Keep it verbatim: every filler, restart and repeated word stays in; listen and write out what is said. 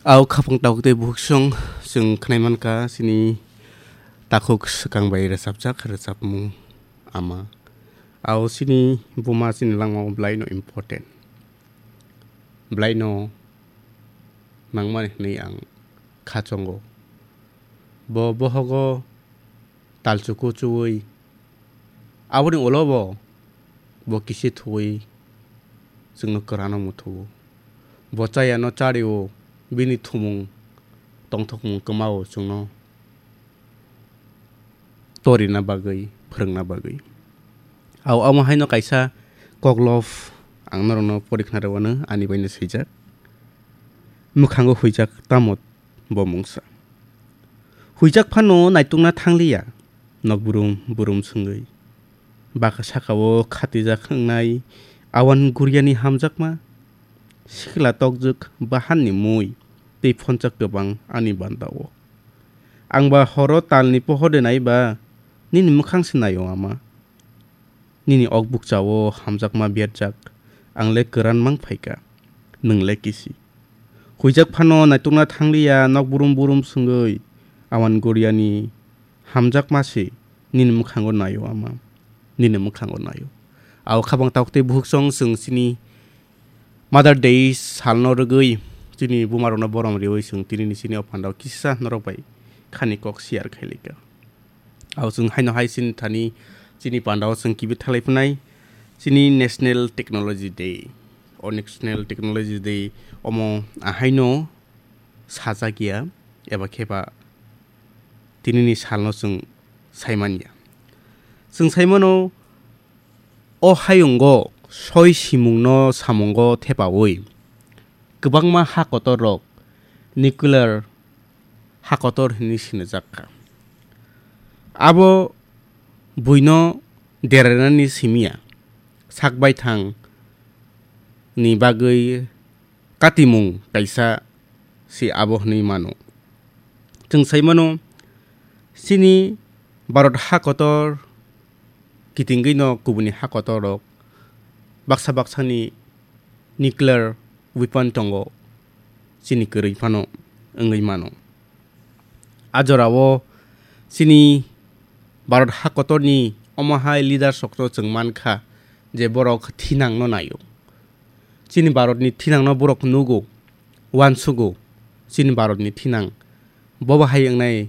Au khapang tabuk tei bukhuk song chwng khnai mankha chini takhuk swkang bai rwchapjak rwchapmung ama. Au chini buma chini langmao belaino important. Belaino nangmani hwnwi ang kha chongo. Bo bohogo talchuku chuwi aboni ulo bo, bo kisi thuwi chwngno kwrano muthugo. Bo chayano chario, bini thumung tongthokmung kwmao chwngno torina bagwi, phwrwngna bagwi. Au amo haino kaisa koklop ang norokno porikhna rwano ani baino swijak. Mwkhango huijak tamo bo mungsa. Huijak phano naitukna thangliya, nok burum burum swngwi. Baka sakao khatijak wngnai awan guriani hamjakma. Sikla tokjwk bahanni mui, tei phonjak kwbang ani bandao. Ang ba horo talni pohor de nai ba, nini mwkhang se naio ama. Nini ok bukchao hamjakma berjak, ang le kwran mang phaikha, nwng le kisi. Huijak phano naitukna thangliya, nok burum burum swngwi, awan guriani hamjakma se nini mwkhango naio ama, nini mwkhango naio. Au khabang tabuk tei bukhuk song chwng chini Mother Day salno rwgwi chini bumarokno borom riwi chwng tinini chini o pandao kisa norok bai khani kok share khailika. Au chwng haino hai chini thani chini pandao chwng kibi thalai phnai chini National Technology Day. O National Technology Day omo ahaino sajak ya eba khe ba tinini salno chwng saimanya. Chwng saimano o hayungo soi simungno samungo thepaui kwbangma ha kotorrok nuclear ha kotor hinwi sinijak kha. Abo buino derainani simiya, sak baithang ni bagwi katimung kaisa se abo hwnwi mano. Chwng sai mano, chini Bharat ha kotor kitingwi no kubuni ha kotor rok baksa baksani nuclear weapon tongo, chini kwrwi phano wngwi mano. A jorao chini Bharat ha kotorni omo hai leaders rokno chwng mankha je borok thinangno naio. Chini Bharatni thinangno borok nugo, uansugo, chini Bharatni thinang bobo hai wngnai